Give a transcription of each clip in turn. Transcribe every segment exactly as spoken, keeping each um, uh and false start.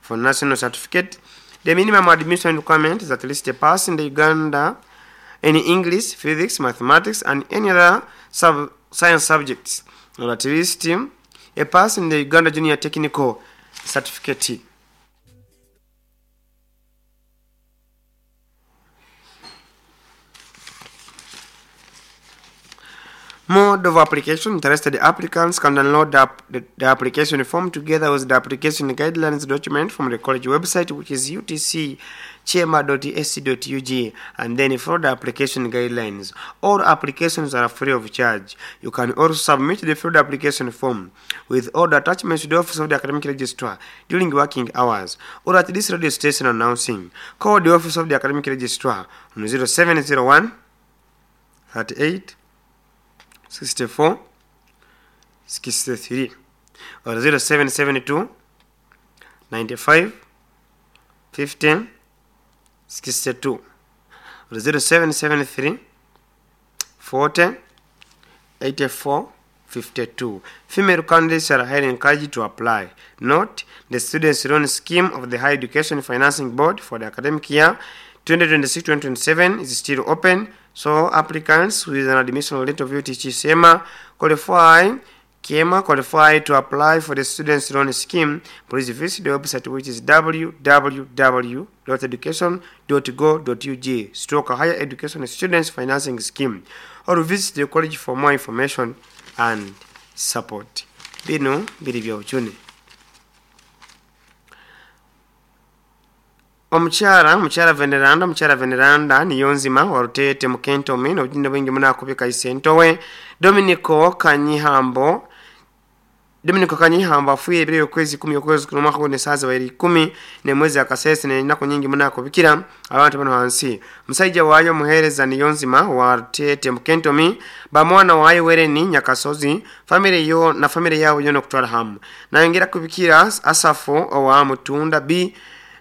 for national certificate. The minimum admission requirement is at least a pass in the Uganda in English, physics, mathematics, and any other sub science subjects, or at least a pass in the Uganda Junior Technical Certificate. Mode of application. Interested applicants can download the, the, the application form together with the application guidelines document from the college website, which is U T C kyema dot A C dot U G, and then follow the application guidelines. All applications are free of charge. You can also submit the filled application form with all the attachments to the office of the academic registrar during working hours, or at this radio station announcing. Call the office of the academic registrar on zero seven zero one thirty-eight sixty-four sixty-three or zero seven seven two ninety-five fifteen sixty-two or zero seven seven three forty eighty-four fifty-two. Female candidates are highly encouraged to apply. Note, the students' loan scheme of the Higher Education Financing Board for the academic year twenty twenty-six twenty twenty-seven is still open, so applicants with an admission letter of U T C SEMA qualify K E M A qualify to apply for the students' loan scheme. Please visit the website, which is w w w dot education dot go dot u g stroke higher education students financing scheme, or visit the college for more information and support. Bino biri bya uchuni. Omukyala omukyala Veneranda omukyala Veneranda Niyonzima wa Rutete mu Kentomi n'obujinda bwingi munakubika isentowe Dominico Kanyihambo Dominico Kanyihambo afuye ebiro okwezi kumi okwezi kuno mwaka guno esaaza wairi ikumi ne mwezi akasese n'ennaku nyingi munakubikira abantu bano hansi. Musajja waayo muheereza Niyonzima wa Rutete mu Kentomi bamwana waayo Wereni Nyakasozi family yo na family yaabo yona okutwala hamu. Nayongera kubikira Asafu owa Mutunda B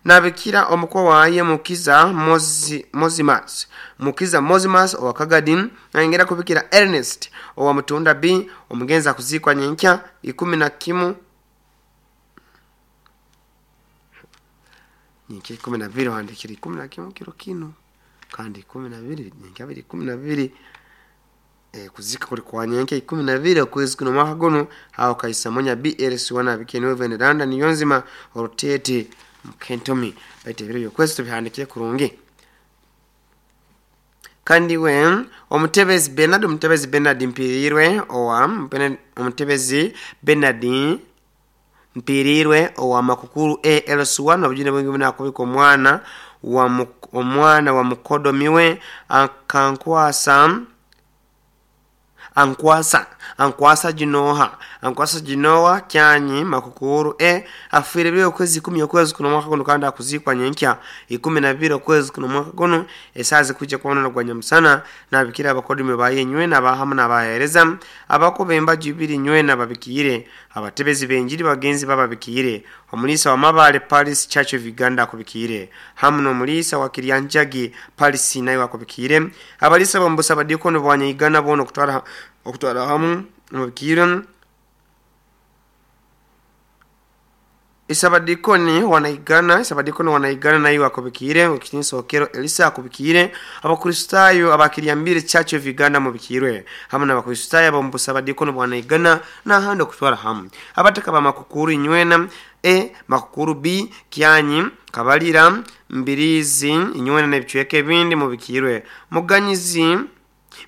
nabikira omukwa waye Mukiza Mozi, Mozimas Mukiza Mozimas owa Kagadin. Nayongera kubikira Ernest owa Mutunda B omugenzi akuzikwa nyenkya ikumi na kimu nyenkya ikumi na bibiri wandikira ikumi na kimu kiro kino kandi ikumi na bibiri nyenkya biri ikumi na bibiri e, kuzika kuli kwa nyenkya ikumi na bibiri okwezi kuno mwaka guno aho Kaisamonya B L C wana bikene Veneranda Niyonzima Rutete Kentomi baite ebiro byokwezi tubihandikire kurungi. Kandi we omutebezi Bernard omutebezi Bernard Mpirirwe owa omutebezi Bernard Mpirirwe owa Makukuru A L C one obujune bwingi bunakubika omwana wa omwana wa mukodomiwe akankwasa ankwasa ankwasa jinoha ankwasa jinowa kyanyi Makukuru e afuire byo kwezi kumi okwezi kuno mwaka guno kandi akuzikwa nyenkya ikumi na bibiri okwezi kuno mwaka guno esazi kujja kubona gwa nyamusana nabikira abakodimi bayenywe nabahamu nabahereza abakobemba jubiri nywe nababikire abatebezi benjiri bagenzi bababikire omulisa wa Mabale Paris Church of Uganda akubikire hamu n'omulisa wa Kiryanjagi Paris nayo akubikire abalisa bombusa badikono bwanyigana bono kutwala okutwala hamu mubikire Isabadikoni wanaigana Isabadikoni wanaigana nayo akubikire ukinisokero Elisa akubikire abakristayo abakiriambire Church of Uganda mubikirwe hamu n'abakristayo bombusa badikono bwanaigana na hando kutwala hamu abataka ba Makukuru inywena E Makukuru B Kyanyi Kabalira Mbirizi inywena n'ebicweka ebindi mubikirwe Muganyizi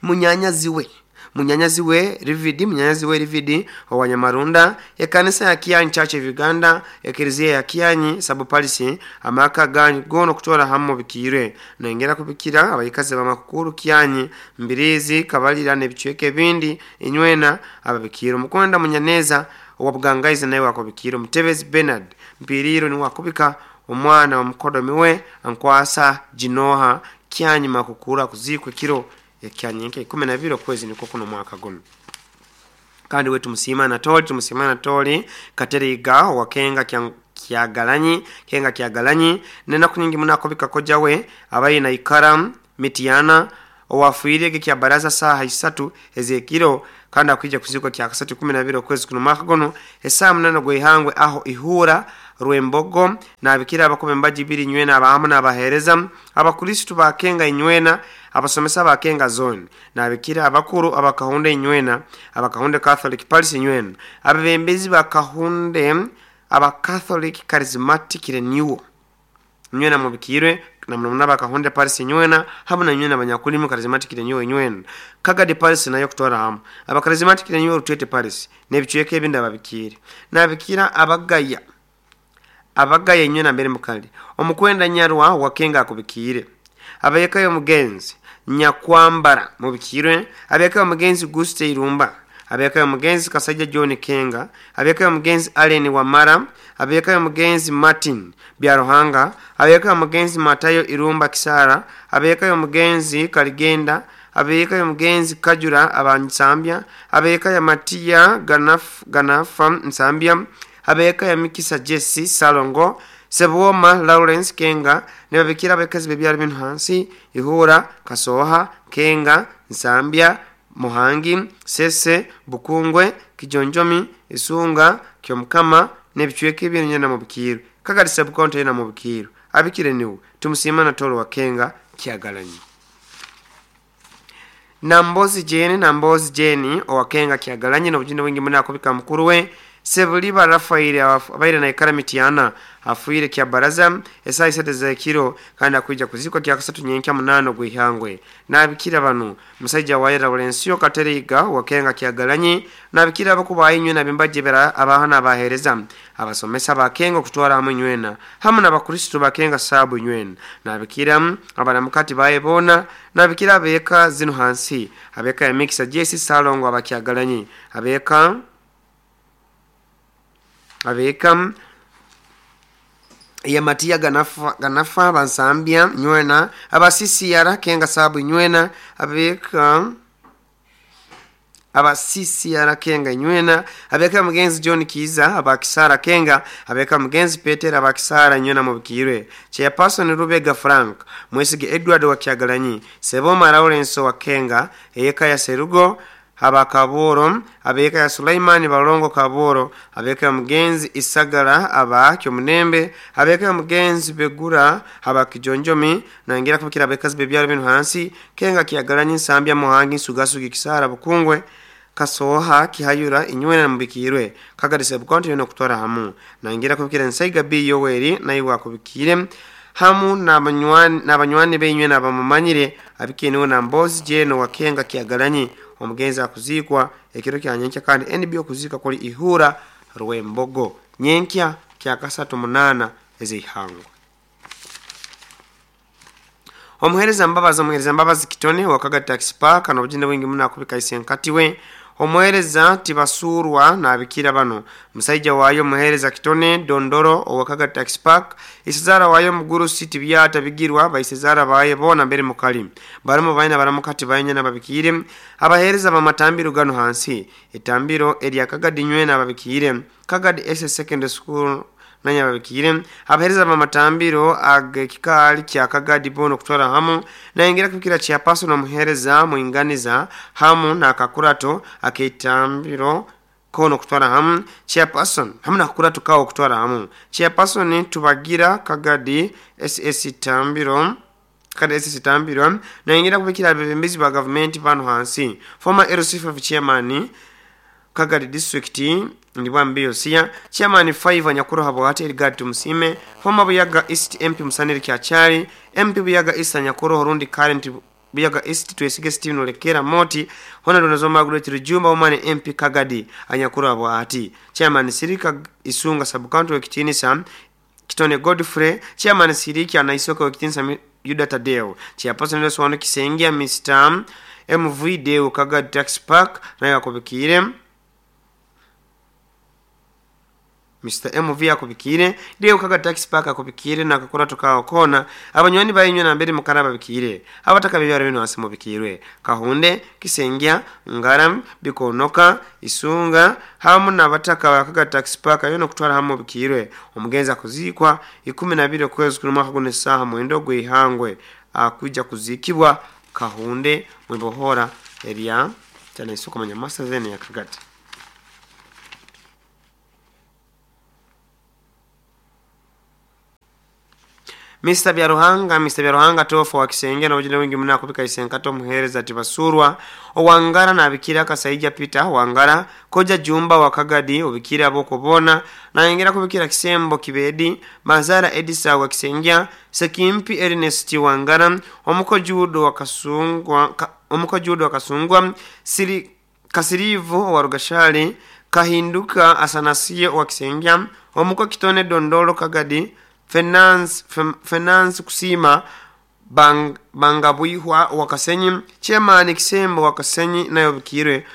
munyanyaziwe munyanyaziwe Rividi munyanyaziwe Rividi owa Nyamarunda ekanisa ya Kyanyi Church of Uganda ekereziya ya Kyanyi Sabuparisi amaka ganyu gono kutwala hamu bikirwe nengera kubikira abayikazi ba Makukuru Kyanyi Mbirizi Kabalira n'ebicweka ebindi inywena ababikira Omukonda Munyaneza owa Bugangaizi naye wakubikira Mutebezi Bernard Mpiriro ni wakubika omwana wa mukodomiwe ankwasa jinoha Kyanyi Makukuru akuzikwe kiro ekyanyenke ikumi na bibiri okwezi niko kuno mwaka guno. Kandi we tumusima Anatoli tumusima Anatoli Kateriga wakenga kyagalanyi kenga kyagalanyi nenaku nyingi munakobika kojawe abayi na ikara mitiana owafuire kya baraza saha isatu ezekiro kandi akwija kuzikwa kya kasatu kumi na bibiri okwezi kuno mwaka guno esaa munana gwehangwe aho ihura Rwembogo nabikira abakuba embaji ibiri nywena abahamu n'abaheereza abakristu bakenga inywena abasomesa bakenga zone nabikira abakuru abakahunde inywena abakahunde Catholic Parish inywena abebembezi bakahunde aba Catholic Charismatic Renewal nywena mubikirwe na mnamna bakahunde Parish inywena hamu na nywena abanyakulimu Charismatic Renewal inywena Kagadi Parish nayo kutwara hamu aba Charismatic Renewal Rutete Parish n'ebicweka ebindi ababikire nabikira abagaya abagaya inywena mbere mukali omukwenda nyarwa wakenga akubikire abayekayo mugenzi nyakwambara mubikirwe abekayo mugenzi Guste Irumba abekayo mugenzi Kasajja John Kenga abekayo mugenzi Allen Wamara abekayo mugenzi Martin Byaruhanga abekayo mugenzi Matayo Irumba Kisara abekayo mugenzi Kaligenda abekayo mugenzi Kajura abansambya abekayo Matia Ganaf Ganafa Nsambya abekayo Mikisa Jesse Salongo Sebwoma Lawrence Kenga nebabikira abakazi bebyalo bino hansi Ihura Kasoha Kenga Nsambya Muhangi Sese Bukungwe Kijonjomi Isunga Kyomukama n'ebicweka ebyo na mubikiro Kagadi subcounty na mubikiro abikire niwe tumusima na tolo wa Kenga Kyagalanyi Nambozi Jeni Nambozi Jeni owakenga Kyagalanyi n'obujinda bwingi muna akubika mukuru we Sebuliba Rafaeli abaire na ikara mitiana afuire kya baraza esai sete za kiro kandi akuija kuzikwa kya kasatu nyenkya munano gwihangwe nabikira banu musajja wa Lawrence Kateriga wakenga Kyagalanyi nabikira abakuba inywe na bimbaje bera abahana abahereza abasomesa bakenga kutwara hamwe nywena hamwe n'abakristo bakenga sabu nywena nabikira abaramukati bayebona nabikira abeka zino hansi abeka ya Mixa Jesse Salongo abakyagalanyi abeka abeka ya Matia Ganafa Ganafa bansambya nywena abasisi yara kenga sabu nywena abeka abasisi yara kenga nywena abeka mugenzi John Kiza abakisara kenga abeka mugenzi Peter abakisara nywena mubikirwe Chairperson Rubega Frank Mwesige Edward wa Kyagalanyi Seboma Lawrence wa Kenga eyeka ya Serugo abakaboro abeka ya Sulaimani Balongo Kaboro abeka ya mugenzi Isagara aba Kyomunembe abeka ya mugenzi Begura aba Kijonjomi nangira kubikira abekazi bebyalo bino hansi Kenga Kyagalanyi Nsambya Muhangi Sugasugi Kisara Bukungwe Kasoha Kihayura inywena mubikirwe Kagadi subcounty yono kutwara hamu nangira kubikira Nsaiga B Yoweri nayo akubikire hamu n'abanywani n'abanywani benywe n'abamumanyire abikeniwe na Mbozi Jeno wakenga Kyagalanyi omugenzi akuzikwa ekiro kya nyenkya kandi N B okuzika kuli Ihura Rwembogo nyenkya kya kasatu munana ezihangwa omuhereza mbabazi omuhereza mbabazi Kitone wakaga taxi park n'obujinda bwingi muna akubika isenkatiwe omuhereza tibasurwa nabikira bano musaija wayo muhereza Kitone Dondoro owakaga taxi park isizara wayo muguru city byata bigirwa baisizara baye bona mbere mukali barimo bayina baramukati bayenya nababikire abahereza bamatambiro gano hansi etambiro erya Kagadi nywena ababikire Kagadi S Secondary School nanya babikire abahereza bamatambiro agekikali kya Kagadi bono kutwara hamu naingira kubikira cha paso na muhereza muinganiza hamu na kakurato akitambiro kono kutwara hamu chairperson hamu na kakurato kawo kutwara hamu chairperson tubagira Kagadi S S tambiro Kagadi S S tambiro naingira kubikira abebembezi ba government bano hansi former L C five chairman Kagadi district ndibwambiyo siya chairman five anyakuru habo hati Edgar Tumusime former Buyaga East M P Musanire Kyachari M P Buyaga East anyakuru horundi current Buyaga East Twesige Steven Olekera Moti Honorable Nazoma Margaret Rujumba Omane M P Kagadi anyakuru habo hati chairman Sirika Isunga sub county wekitinisa Kitone Godfrey chairman Siriki anaisoka wekitinisa Yuda Tadeo chairperson Loswano Kisengia Mister M V Deo Kagadi Tax Park nayo akubikire Mister M V akubikire Deo Kagadi Tax Park akubikire na kakora tukawo kona abanywani bayinywe na mbere mukaraba bikire abataka bibyaro bino hasi mubikirwe Kahunde Kisengia Ngaram Bikonoka Isunga hamu nabataka ba Kagadi Tax Park ayo kutwara hamu bikirwe omugenza kuzikwa ikumi na bibiri kwezi kuri mwaka gune saha mwendo gwihangwe akuja kuzikibwa Kahunde mwibohora area cyane isuko manyamasa zene ya Kagadi. Mister Byaruhanga Mister Byaruhanga tofa wa Kisenge na ujine wingi muna kubika isenkato muhereza tibasurwa owangara na abikira Kasaija Peter wangara koja Jumba wa Kagadi ubikira boko bona na ingera kubikira Kisembo Kibedi Mazara Edisa wa Kisengya Sekimpi Ernest wangara omuko Judo wa Kasungwa ka, omuko Judo wa Kasungwa Siri Kasirivu wa Rugashali Kahinduka Asanasiye wa Kisengya omuko Kitone Dondolo Kagadi Finance Finance Kusima Bang, Bangabwihwa wa Kasenyi Chairman Kisembo wa Kasenyi nayo bikirwe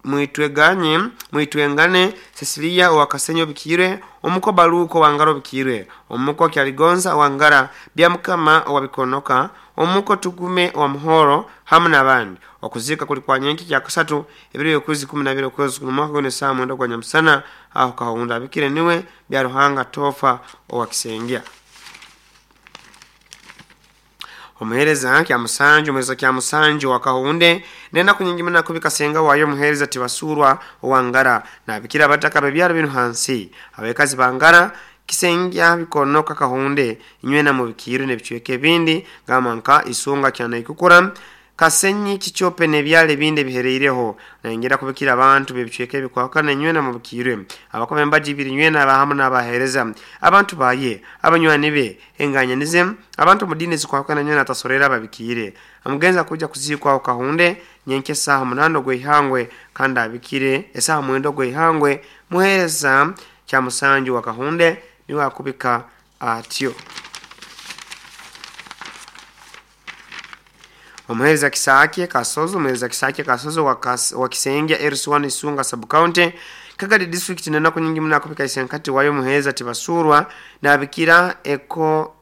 mwitweganye mwitwengane Cecilia wa Kasenyi bikirwe omuko Baluko wangaro bikirwe omuko Kyaligonza wangara Byamukama wa Bikonoka omuko Tugume wa Muhoro hamwe n'abandi. Okuzika kuli kwa nyenki kya kasatu ebiro kwezi kumi na bibiri kwezi mwaka gone saa mwenda gwa nyamusana aho kahunda bikire niwe Byaruhanga tofa owa Kisengya. Omuhereza kya musanju omuhereza kya musanju wa Kahunde nenda kunyingimana kubika senga wayo muhereza tibasurwa owangara na bikira bataka bebyaro binu hansi abekazi bangara Kisengya Bikonoka Kahunde inywe na mubikiro nebichweke bindi gamanka isunga kyana ikukura Kasenyi Kichope nebyale binde bihereireho na ingira kubikira abantu bebichweke bikwakana inywe na mubikiro abakombe mbaji biri inywe na bahamu n'abahereza abantu baye abanywani be enganyanize abantu mudini zikwakana inywe na tasorera babikire amugenza kuja kuzikwa Kahunde nyenke saha munano gwe kandi abikire esaha mwendo gwe ihangwe muhereza kya musanju wa Kahunde niwe akubika atyo. Omuhereza Kisake Kasozo omuhereza Kisake Kasozo wa Kisengya Eruswani Isunga sub county Kagadi district nena kunyingi muna akubika isenkati wayo muhereza tibasurwa na abikira eko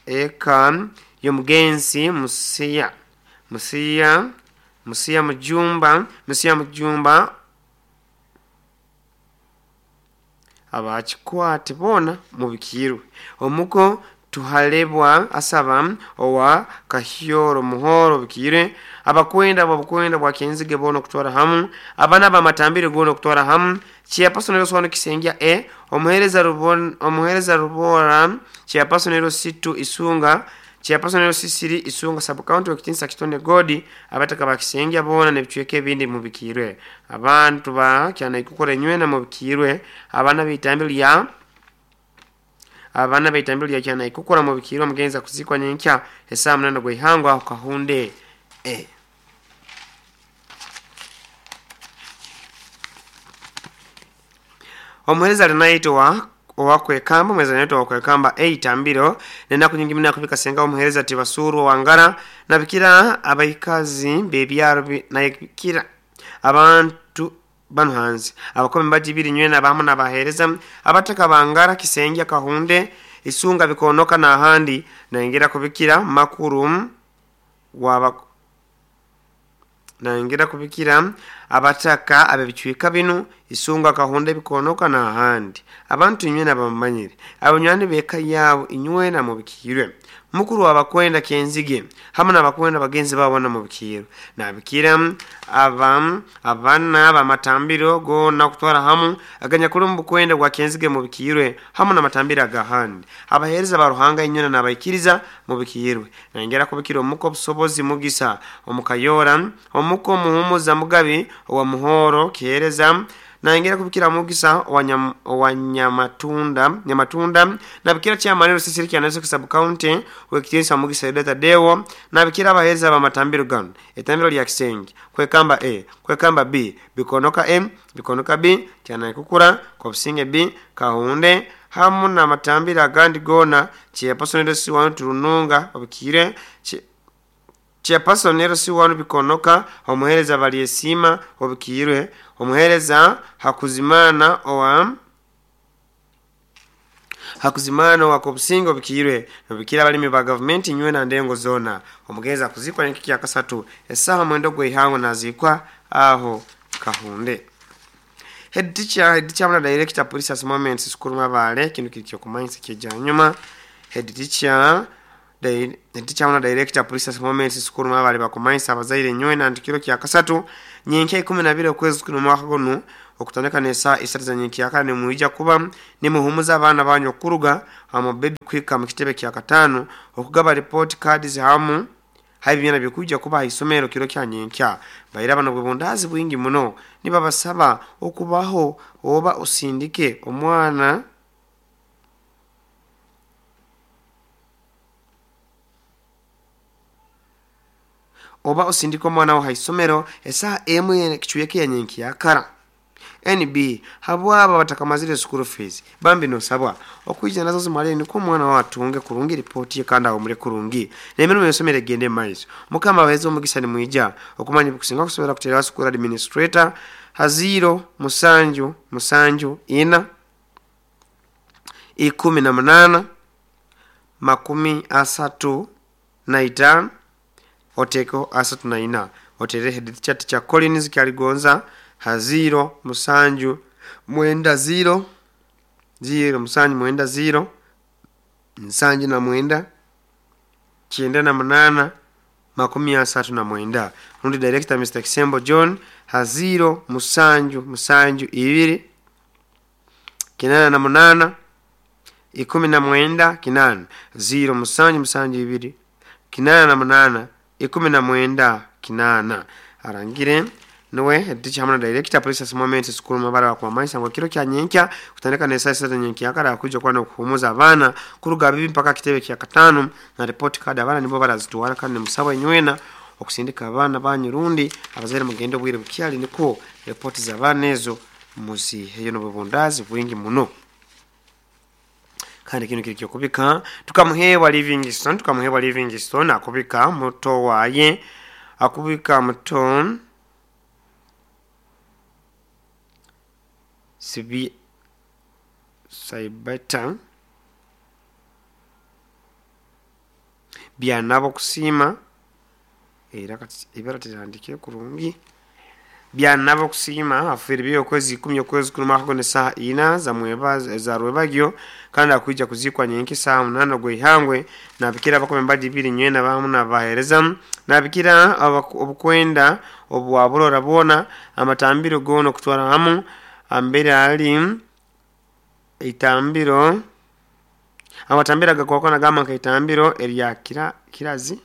eka yomugenzi Musia Musia Musia Mujumba Musia Mujumba abachikwate bona mubikirwe omuko tuhalebwa asaba owa Kahyoro Muhoro bikire abakwenda babukwenda bwa Kenzige bono kutwara hamu abana bamatambire gono kutwara hamu Chairperson Swano Kisengya e omuhereza rubon omuhereza rubora Chairperson Situ Isunga Chairperson Sisiri Isunga sub county wekitinsa Kitone Godi abataka bakisengya bona nebichweke bindi mubikirwe abantu ba kyana ikukora nywe na mubikirwe abana bitambire ya abana baitambiro ya kyana ikukora mubikirwe mugenza kuzikwa nyenkya esaa munana gwe ihangwa aho Kahunde e omuhereza alinaitwa owakwekamba mweza naitwa owakwekamba eitambiro nena kunyingimina kubika senga omuhereza tibasuru wangara nabikira abaikazi bebyaro nabikira abantu bano hanze abakome mbaji biri nywe na bamu n'abahereza abataka bangara Kisengya Kahunde Isunga Bikonoka na ahandi na ingira kubikira makuru waba na ingira kubikira abataka abebichwika binu Isunga Kahunde Bikonoka na ahandi abantu inywe nabamanyire abanywani beka yabo inywe na mubikirwe mukuru wabakwenda Kenzige hamwe n'abakwenda bagenzi babo na mubikiro nabikira aba abana bamatambiro go na kutwara hamu aganya kuri mukwenda gwa Kenzige mubikirwe hamwe n'amatambiro agahandi abahereza baruhanga inyona nabayikiriza mubikirwe nangera kubikira omuko busobozi mugisa omukayora omuko muhumuza mugabi wa Muhoro kihereza nangera kubikira mugisa wa Nyamatunda Nyamatunda nabikira chairman Sisiri kyanazo sub county wekitinsa mugisa data dewo nabikira abahereza bamatambiro gano etambiro lya Kisenge kwekamba A kwekamba B Bikonoka M Bikonoka B kyana kukura kobusinge B Kahunde hamu na matambiro agandi gona chairperson si wanu turununga obikire Chairperson si wanu Bikonoka omuhereza baliyesima obikirwe omuhereza Hakuzimana owa Hakuzimana wa Kobusingo bikirwe nobikira balimi ba government inywe na ndengo zona omugeza kuzikwa nkiki ya kasatu esaha mwendo gwe ihango nazikwa aho Kahunde. Head teacher head teacher na director police as moments school mabale kintu kikyo kumanyisa kijanyuma head teacher Head teacher na director police as moments school mabale bakumanyisa abazaire nywe na ndikiro kya kasatu nyenke ikumi na bibiri okwezi kuno mwaka gono okutandika nesa isatu za nyenke yakane muija kuba nimuhumuza abana banyu kuruga ama baby kuhika mu kitebe kya katano okugaba report cards hamu habi byana bikuja kuba isomero kiro kya nyenkya baira bano bwebundazi bwingi muno nibabasaba okubaho oba osindike omwana oba osindike omwana wa haisomero esaa emwe kichweke ya nyenkya kara N B habwaba batakamazire school fees bambi no sabwa okuija nazo zimale niko mwana watunge kurungi report ye kanda omure kurungi nemero yosomere gende maiso mukama bahezo omugisa ni mwija okumanya bukusinga kusobera kutera school administrator haziro musanju musanju ina ikumi na munana makumi asatu na itano oteko asatu na ina otere head chat cha Collins Kyaligonza haziro musanju mwenda zero zero musanju mwenda zero nsanju na mwenda kyenda na munana makumi asatu na mwenda rundi director Mister Kisembo John haziro musanju musanju ibiri kinana na munana ikumi na mwenda kinana zero musanju musanju ibiri kinana na munana ikumi na mwenda kinana arangire nuwe teacher hamna director police moment school mabara kwa maisha ngo kiro kya nyenkya kutandika na saa sita nyenkya akara kuja kwa kuhumuza abana kuruga bibi mpaka kitebe kya katano na report card abana nibo barazitwara kandi musaba nywena okusindika abana banyu rundi abazere mugende bwire bukyali niko report za abana ezo muziheyo no bubundazi bwingi muno kandi kino kiri kubika tukamuhewa Livingstone tukamuhewa Livingstone akubika muto waye akubika muto sibi saibata byanabo kusima era kati ibara tandike kurungi byanabo kusima afiri byo kwezi ikumi okwezi kuluma hakone saa ina za mweba za rwebagyo kandi akuija kuzikwa nyenki saa munana gwe na bikira bakome mbadi biri nywena bamu na bahereza na bikira obukwenda obwaburora bona amatambiro gono kutwara hamu ambere ali itambiro amatambira gakwakona gama ka itambiro erya kira kirazi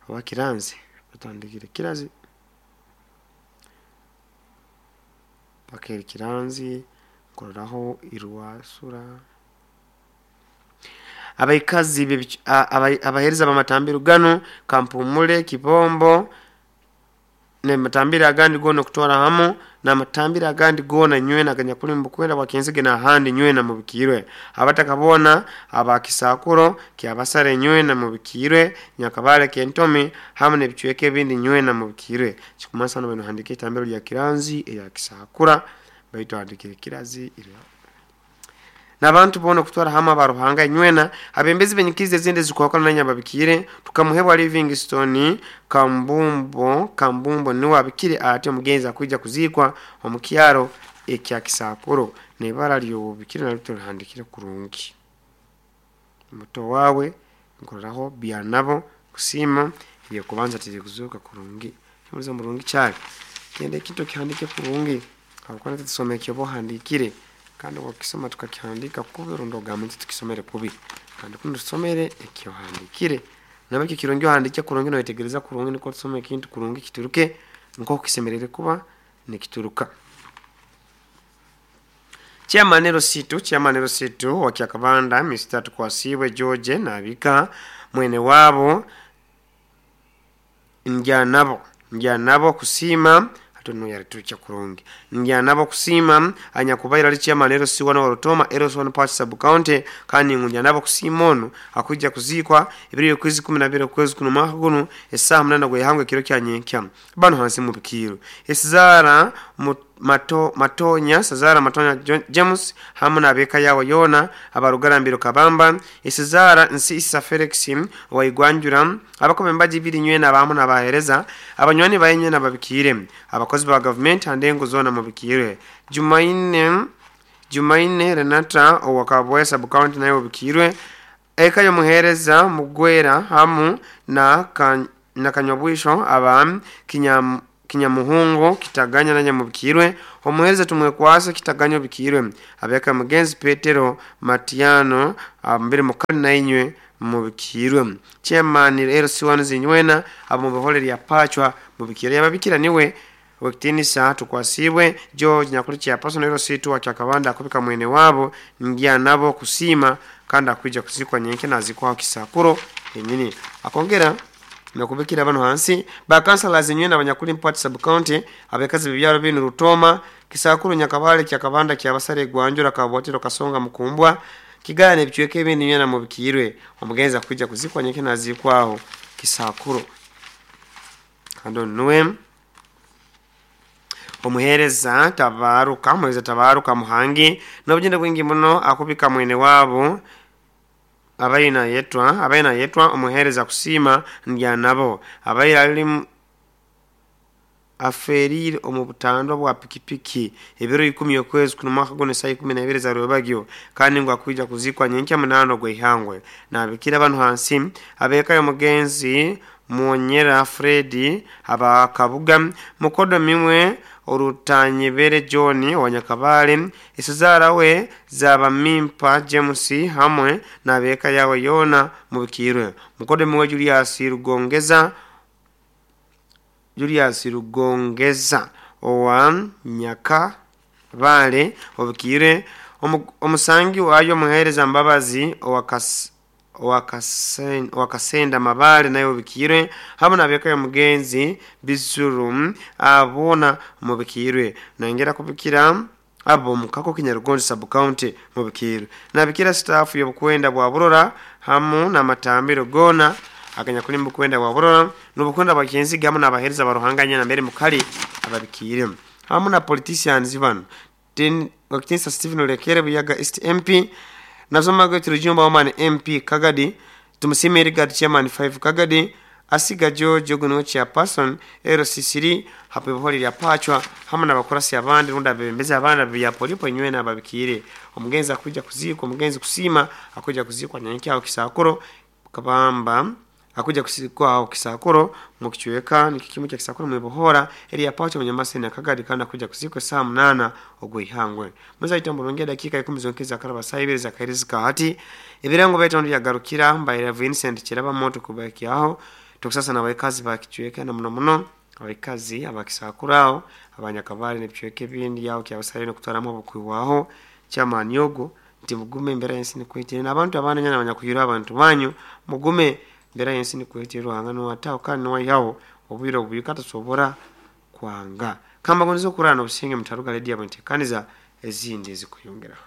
oba kiranzi batandikire kirazi pakeri kiranzi kororaho irwasura abaikazi abahereza abamatambiro gano kampumule kibombo ne matambira agandi gono kutwara hamu na matambira agandi gona nywena ganyakuli mbukwenda kwa kenzige na handi nywena mubikirwe abatakabona abakisakuro kyabasare nywena mubikirwe nyakabale kentomi hamu ne bichweke bindi nywena mubikirwe chikumasa no bino handike itambiro lya kiranzi ya kisakura baito handike kirazi ira nabantu bono kutwara hama baruhanga nywena abembezi benyikize zinde zikwakana nanya babikire tukamuhebwa Livingstone kambumbo kambumbo ni wabikire ate omugenzi akuija kuzikwa omukyaro ekya kisakuro nebara lyo bikire na lito handikire kurungi muto wawe nkoraho byanabo kusima iyo kubanza tiri kuzuka kurungi kimuza murungi cyane kende kito kihandike kurungi akwana tusomeke bo handikire kandi wakisoma tukakihandika kubero ndogamenti tukisomere kubi kandi kuno tusomere ekyo handikire nabaki kirungi handike kurungi no itegereza kurungi niko tusome kintu kurungi kituruke nko kisemerere kuba nikituruka Chairman Situ Chairman Situ wa Kyakabanda Mister Tukwasiwe George nabika mwene wabo njanabo njanabo kusima hatuno yaritucha kurungi njanabo kusima anyakubaira ali chairman L C one wa Rutoma L C one Part Sub County kandi njanabo kusima ono akuja kuzikwa ibiri kwezi kumi na bibiri kwezi kuno mwaka guno esaha munana gwe hangwe kiro kya nyenkya bano hansi mu bikiro esizara mato matonya sazara matonya James hamu na beka yawo yona abarugarambiro kabamba esizara nsi isa Felix wa igwanjura abakome mbaji biri nywena abamu na bahereza abanywani bayenye na babikire abakozi ba government andengo zona mu bikire Jumaine Jumaine Renata owakabwe sub county nayo bikirwe eka yo muhereza mugwera hamu na kan, na kanyobwisho aba kinyam Kinyamuhungu Kitaganya na Nyamubikirwe, omuhereza Tumwekwasa Kitaganya Obikirwe, abeka mugenzi Petero Matiano mbere mukali na inywe mubikirwe, chairman L C one zinywena abo mubihole lya Pachwa mubikirwe. Yababikira niwe wekitinisa tukwasibwe George nyakuri chairperson L C two wa Kyakabanda akubika mwene wabo ngia nabo kusima kandi akuija kuzikwa nyenke nazikwa Kisakuro enyini. Akongera nakubikira bano hansi ba councillors nywena abanyakuli Mpati sub county abekazi bibyaro binu Rutoma, Kisakuro, Nyakabale, Kyakabanda, Kyabasare, Gwanjura, Kabwatiro, Kasonga, Mukumbwa, Kigane bichweke ibindi nywena mubikirwe. Omugenzi akuija kuzikwa nyenke nazikwaho Kisakuro. Kando nuwe omuhereza Tabaruka, omuhereza Tabaruka Muhangi n'obugenda bwingi muno akubika mwene wabo abaina yetwa abaina yetwa omuhereza kusima ndya nabo abaira ali aferire omu butandwa bwa pikipiki ebiro ikumi okwezi kuno mwaka guno saa ikumi na ibiri za rwebagyo, kandi ngo akuija kuzikwa nyenkya munano gw'ihangwe. Nabikira bano hansi abeka y'omugenzi Mwonyera Fredi abakabuga mukodo mimwe Orutanyebere John wa Nyakabale, isizara we zaba Mimpa James hamwe nabeka yawe Yona mubikirwe, mukodo mimwe Julius Rugongeza Julius Rugongeza owa Nyakabale obikirwe, omusangi wayo muhereza Mbabazi owa Kas wakasenda Mabale nayo bikirwe, hamwe nabeka yo mugenzi Bizuru abona mubikirwe. Nangera kubikira abo mukako Kinyarugondi sub county mubikirwe. Nabikira staff yo bukwenda bwa Burora hamu na matambiro gona akanya kuli mbukwenda bwa Burora n'ubukwenda bakenzi gamu nabahereza baruhanganya na mbere mukali ababikire hamu na politicians bano ten wakitinsa Stephen Olekere Buyaga East M P, Nazoma gwe Turujumba Woman M P Kagadi, Tumusime Rigard Chairman five Kagadi, Asiga George Oguno Chairperson L C C hapo bihori lya Pachwa hamwe n'abakurasi abandi runda bembeza abana bya polipo nywe nababikire. Omugenzi akuja kuzikwa, omugenzi kusima akuja kuzikwa nyanki aho Kisakuro kabamba akuja kuzikwa aho Kisakuro mukichweka nikikimu kya Kisakuro mwibohora eri ya Pachwa munyamase na Kagadi, kandi akuja kuzikwa saa munana ogwihangwe. Muza itambo ronge dakika ikumi zonkeza karaba saa ibiri za kairizika hati ibirango betu ndi yagarukira mbaira Vincent Kiraba moto kubaki aho tukusasa na baikazi bakichweka na muno muno abaikazi abakisakuraho abanyakabali nebichweke bindi yao kyabasale no kutaramo bukwiwaho chamanyogo nti mugume mbera yensi nikwitire n'abantu abana nyana abanyakuyira abantu banyu mugume mbera yensi nikwitire ruhanga no atao kandi no yaho obwiro obuyikata sobora kwanga kamba gonzo kurana obusinge mutaruga ledi yabantu kaniza ezindi ezikuyongera.